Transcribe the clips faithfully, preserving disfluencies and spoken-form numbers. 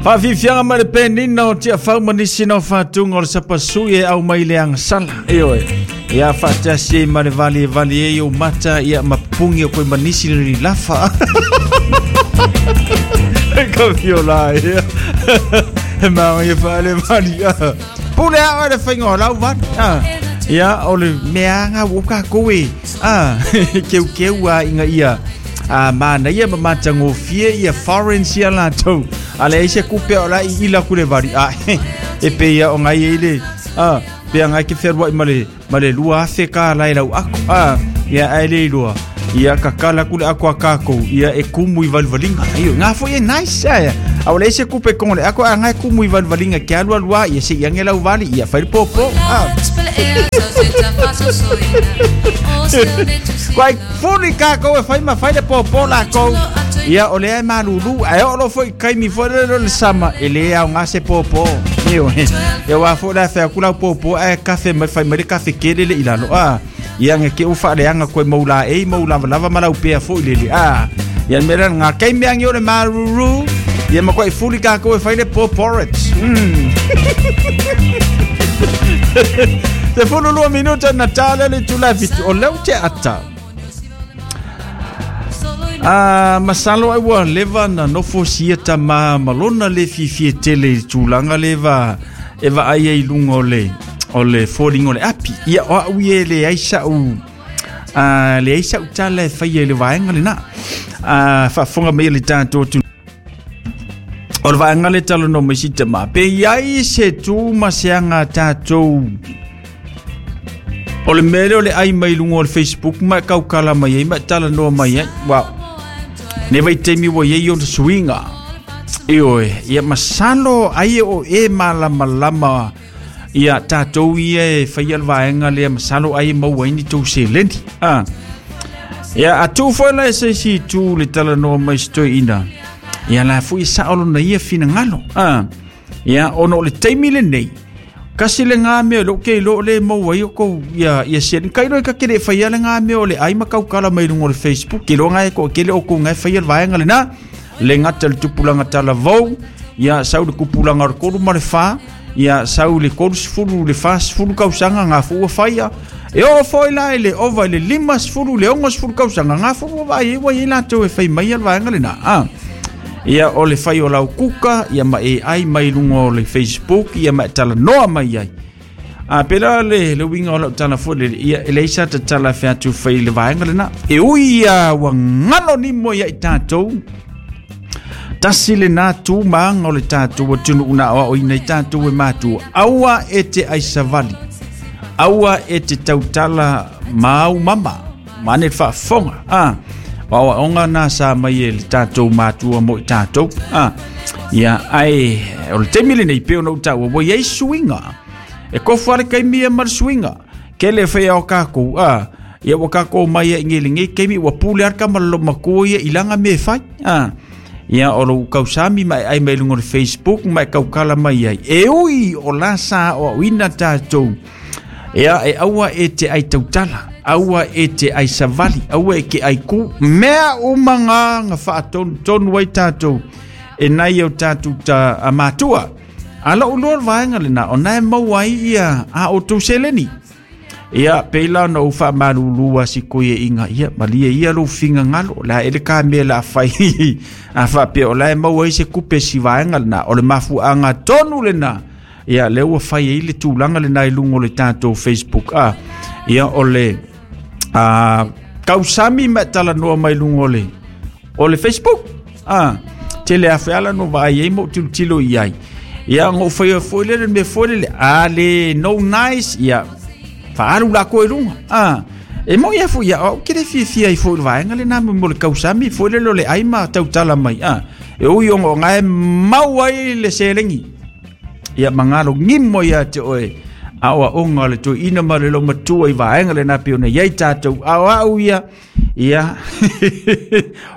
Faafiafiaga ma le penina o tiafau ma nisi na o faatuga o le sapasui e au mai le agasala. Ioe. Ia faatasi ai ma le vali e vali ai ou mata ia ma pupugi o koe ma nisi le lilafa. E ka fiola ia. E maga ia faale vali. Pule a oe le faiga o lau vali. Ia o le meaga ua kākou e. Keukeu a inga ia. A mana ia ma matagofie ia foreign sia latou. A leai se kupe o la i ila ku le vali. A e pe ia o ngai e le. A pe ngai ke feruai ma le ma le lua afe ka lai lau ako. A ia ai le lua. Ia kakala ku le ako a kākou. Ia e kumu i valivalinga. Aio ngā foi e nice aia. A o leai se kupe kongo le ako a ngai kumu i valivalinga ke alu alua ia se iange lau vali ia fai le popo. A Quai fuli kākou e fai ma fai le popo lākou. Ia o lea e malulu. Ae o lo foi kaimi foi le le sama. E le au ngā se popo. Io e wā fo la whea kula popo e kafe mai fai mai le kafe kele le ilalo. A ia nge ke ufa le anga koe maula e maula lava malau pea fo i lele. A ia mera ngā kaimi angi o le maruru. Ia ma koe fuli kākou e fai le poporridge. Mm. Te fulu lua minuta na tala le tula fitu o leu te ata. A masalo ai ua leva na nofo sia tama malona le fifi tele i tulaga leva e vaai ai lunga o le o le foliga o le api. Ia o au ia e leai sa'u a leai sa'u tala e faia i le vaega lenā. A faafofoga mai le tatou atu o le vaega le talanoa mai si tama pe iai se tu ma se aga tatou o le mea lea o le ai mai luga o le Facebook ma e kaukala mai ai ma e talanoa mai ai. Wow. Ne vaitaimi ua iai ona suiga. Ioe, ia masalo ai o e malamalama ia tatou ia e faia le vaega lea masalo ai e maua ai ni tou seleni. Ah. Ia atu foi la e se isi itu le talanoa mai se toeaina. Ia la foi e sao lona ia finagalo. Ah. Ia ona o le taimi lenei. Kasi le ngā mea lo ke lo le maua ai o kou ia ia se kai lo ka kele faia le ngā mea o le ai ma kaukala mai lunga o le Facebook ke lo ngai ko kele o ko ngai faia le vaega lena le ngata le tupulaga talavou ia sau le kupulaga o le kolu ma le fa ia sau le kolu sefulu le fa sefulu kausaga ngā fu ua faia e oo foi la i le ova i le lima sefulu le ogo sefulu kausaga ngā fu ua vaai ai ua iai latou e fai mai le vaega lena. A ia o le fai o lau kuka ia ma e ai mai lunga o le Facebook ia ma e talanoa mai ai. A pela le le uiga o lau tala foi le ia e leai sa tatala featu fai le vaega lena. E ui ia ua galo nimo ia i tatou. Tasi lenā tu maga o le tatou atunuu na aoaoina i tatou e matua. Aua e te aisavali. Aua e te tautala mau mama. Mane le faafofoga. Ah. Aoaoga na sa mai e le tatou matua mo i tatou. Ah. Ia ai o le taimi lenei pe ona ou taua ua iai suiga. E kofu ale kaimi ia ma le suiga. Ke le faia o kākou. Ah. Ia ua kākou mai e nge le kaimi ua pule ar ka ma lo makua ia i langa me fai. Ah. Ia o lou kausami ma e ai mai luga o le Facebook ma e kaukala mai ai. E ui o la sa o auina tatou. Ia e aua e te ai tautala. Aua e te ai savali, aua e ke ai ku. Mea uma ngā ngā whaatonu tonu ai tātou. E nai au tātou ta a matua. A lau loa le vaega lena, o nae maua ai ia a o tou seleni. Ia, peila na ou faamalulu a si koe inga ia, malia ia lou fingagalo. La e le ka mea la fai. A faapea o la e maua ai se kupe si vaega lena. O le mafuaaga tonu lena. Ia, lea ua fai ai le tulaga lena i luga o le tatou Facebook. Ah, ia o le a kausami ma talanoa mai luga o le o le Facebook. Ah, tele afe ala no vaai ai mo tilotilo i ai. Ia ngou faia foi le mea foi le a le no nice ia faalu la koe luga. Ah, e mo ia foi ia o ke le fiafia ai foi le vaega lena mo le kausami foi le lo le ai ma tautala mai. Ah, e ui o ngai mau ai le selegi. Ia mangalo ngimo ia te oe. Aoa onga le toi ina ma le lo matua i vaega lena pe ona iai tatou. Ao au ia ia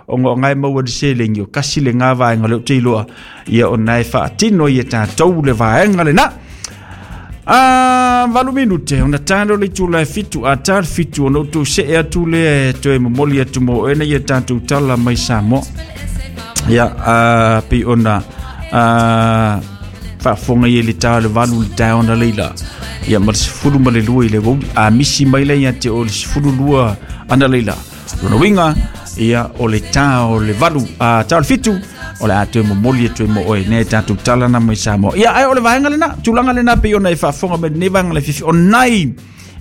onga o ngai maua le selegi o kasi le ngā vaega le o te iloa. Ia o nai faatino ia tatou le vaega lena. A valu minute ona talo le itula e fitu a talo fitu ona outou see atu lea e toe momoli atu mo oe na ia tatou tala mai Samoa. Ia a pei ona a faafofoga i le tā o le valu le taeao na leila ia ma le sefulu ma le lua i le wouli a misi mai lea ia te o le sefulu lua ana leila lona uiga ia o le tā o le valu a tā o le fitu o le a toe momoli e toe mo oe nei tatou tala na mai Samoa ia ai o le vaega lena tulaga lena pei ona e faafofoga mai lenei vaega le fifi o nai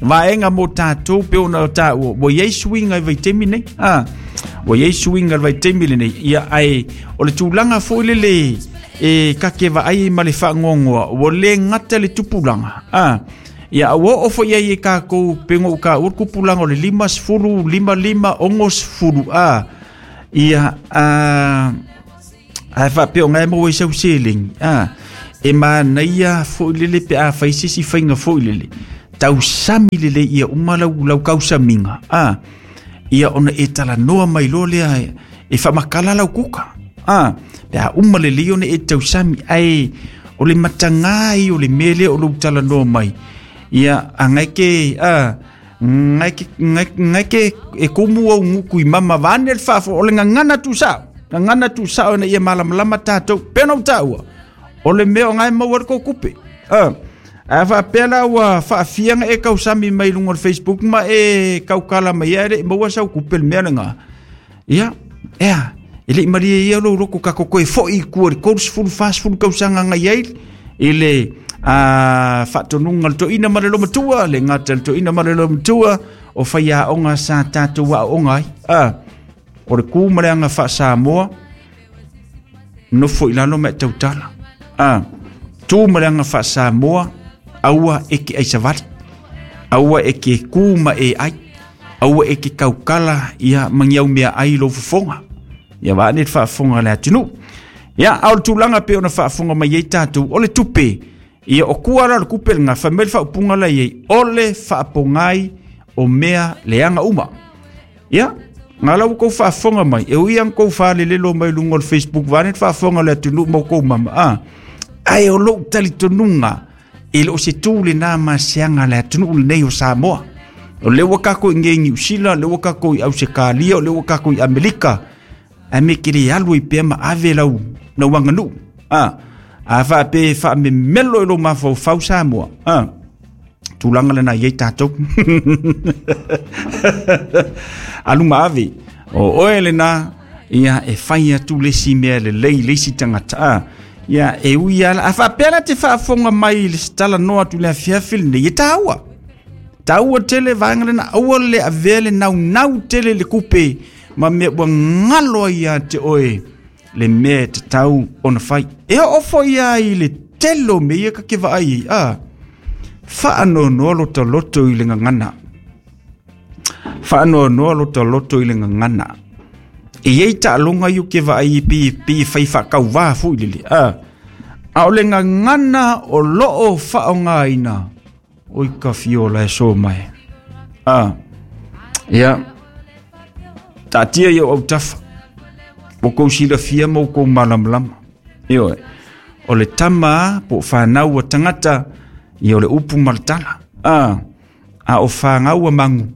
vaega mo tatou pe ona taua ua iai suiga i vaitaimi nei a ua iai suiga i le vaitaimi lenei ia ae o le tulaga foi lele e kake vaai ma le faagoagoa ua lē gata le tupulaga a ia ua oo foi ai e kakou pego u ka ua kupulaga o le lima sefulu lima lima ogo sefulu a ia a ae faapea o gae maua i sau seleni a e manaia foi lele pe a fai se isi faiga foi lele tausami lelei ia uma lau, lau kausamiga a ia ona e talanoa mai loa lea e faamakala lau kuka a pe a uma lelei ona e tausami ae o le matagā ai o le mea lea o lou talanoa mai ia agai ke a ngai ke ngai ke e kumu au nguku i mama vane le faafo o le gagana tusao gagana tusao ina ia malamalama tatou pena o taua o le mea o gae maua le kou kupe a a faapea la ua faafiaga e kausami mai luga o le Facebook ma e kaukala mai ai le maua sau kupe le mea lega ia ea e le'i malie ia lou loko kakoko e fo'i i kua le tolu sefulu fa sefulu kausaga agai ai i le a faatonuga le toʻina ma le lomatua le gata le toʻina ma le lomatua o faiaoga sa tatou aoaoga ai a o le kū ma le aga faasamoa nofo i lalo ma e tautala a tū ma le aga faasamoa aua e ke aisavali aua e ke kū ma e ai aua e ke kaukala ia magiau mea ai lou fofoga ia vaane le faafofoga le atunuu ia a o le tulaga pe ona faafofoga mai ai tatou o le tupe ia o kua la le kupe le gafa mai le faaupuga la iai o le faapogai o mea leaga uma ia nga lau kou faafofoga mai e ui aga kou falelelo mai luga o le Facebook vaane le faafofoga le atunuu ma kou mama a ae o lou talitonuga e loo se tū lenā masiaga le atunuu lenei o Samoa o lea ua kakou i gei Niusila o lea ua kakou i Ausekalia o lea ua kakou i Amelika ae me ke lē alu ai pea ma ave lau lau aganuu a a faapea e faamemelo i lou mafaufau Samoa a tulaga lena iai tatou alu ma ave o oe lena ia e fai atu le isi mea lelei le isi tagata a ia e ui ala a faapea la te faafofoga mai i le talanoa atu le afiafi lenei e taua taua tele vaega lena aua le avea le naunau tele le kupe ma mea ua galo ai ia te oe le mea e tatau ona fai e oo foi ai le tele o mea ia kake vaai ai a faanoanoa lotoloto i le gagana faanoanoa lotoloto i le gagana e iai taaloga iu ke vaai pe pe fai faakauvā foi lele a a o le gagana o loo faaaogāina oi ka fiola e so mai a ia taatia ia o autafa o kou silafia ma kou malamalama ioe o le tama po o fanau a tagata ia o le upu ma le tala a a o fagau a magu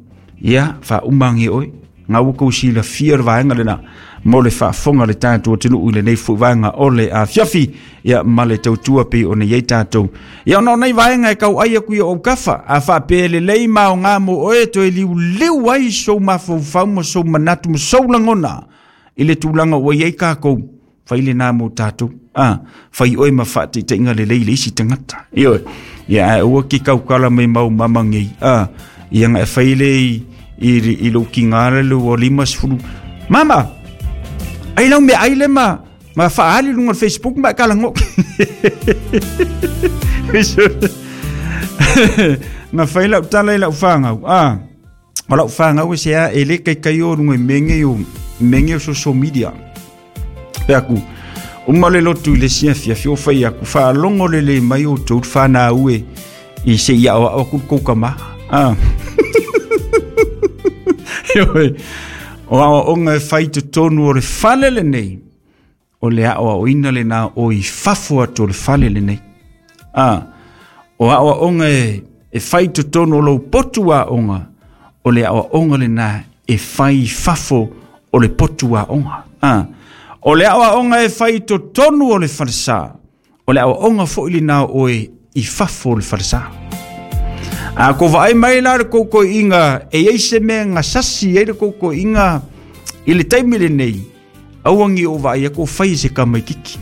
ia faaumagi oe gau kou silafia le vaega lena mo le faafofoga le tatou atunuu i lenei foi vaega o le afiafi ia ma le tautua pei ona iai tatou ia ona o nei vaega e kauai aku ia ou kafa a faapea lelei ma aogā mo oe toe liuliu ai sou mafaufau ma sou manatu ma sou lagona i le tulaga ua iai kakou fai lenā mo tatou a fai oe ma faataitaiga lelei le isi tagata ioe ia ae aua ke kaukala mai mau mamagei a ia ga e fai le i i lou kigā le ua lima sefulu mama ai lau mea ai le ma ma faaali luga o le Facebook ma e kalago na fai lau tala i lau fagau a o lau fagau e se a e lē kaikai o luga i mea o mea o social media pe aku uma le lotu i le siafiafi o fai aku faalogo lelei mai outou le fanau e i seia aoao aku le kou kamā a ioe o aoaoga e fai totonu o le fale lenei o le aoaoina lenā o i fafo atu o le fale lenei a o aoaoga e, e fai totonu o lou potu aoga o le aoaoga lenā e fai i fafo o le potu aoga a O le aoaoga e fai i totonu o le falesa, o le aoaoga foi lena o oe i fafo o le falesa. A ko vaai mai la le koukoiga e iai se mea gasasi ai le koukoiga i le taimi lenei, auagi o vaai aku fai se kamaikiki.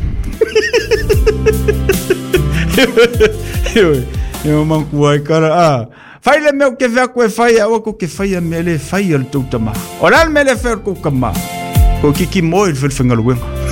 E o mankua e kara a. Fai le mea o ke vea koe fai a ko ke fai a mea le fai a le tau tama. O la le mea le fai o le kou kama. Ko kiki moi le whengaluenga.